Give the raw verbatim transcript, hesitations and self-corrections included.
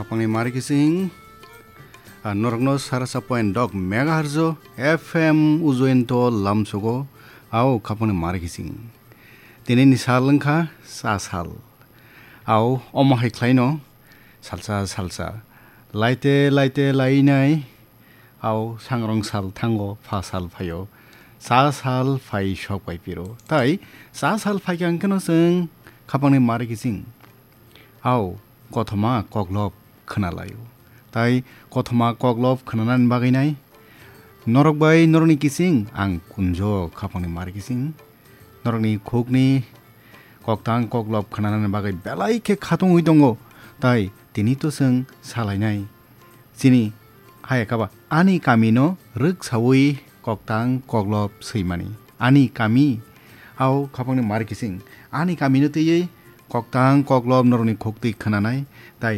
Khapangni mari kising, ah, norokno sarasa point dok megahertz o F M ujoento lamsugo, ao khapangni mari kising. Tini ni sal wngkha sa sal. Ao omo hai khlaino salsa salsa. Laite laite lainai, ao sangrong sal thango, pha sal phaio. Sa sal phai sok bai piro. Tai sa sal phaikha hwnkhe no chwng khapangni mari kising. Ao kothoma koklop khwnalaio. Tai kothoma koklop khwnanani bagwi nai norok bai norokni kising ang kunjo khapangni mari kising. Norokni khukni koktang koklop khwnanani bagwi belai khe khatungwi tongo. Tai tini to chwng salainai. Chini hayakaba ani kamino rwksawi koktang koklop swimani. Ani kami, ao khapangni mari kising. Ani kamino twiwi koktang koklop norokni khuktwi khwnanai, tai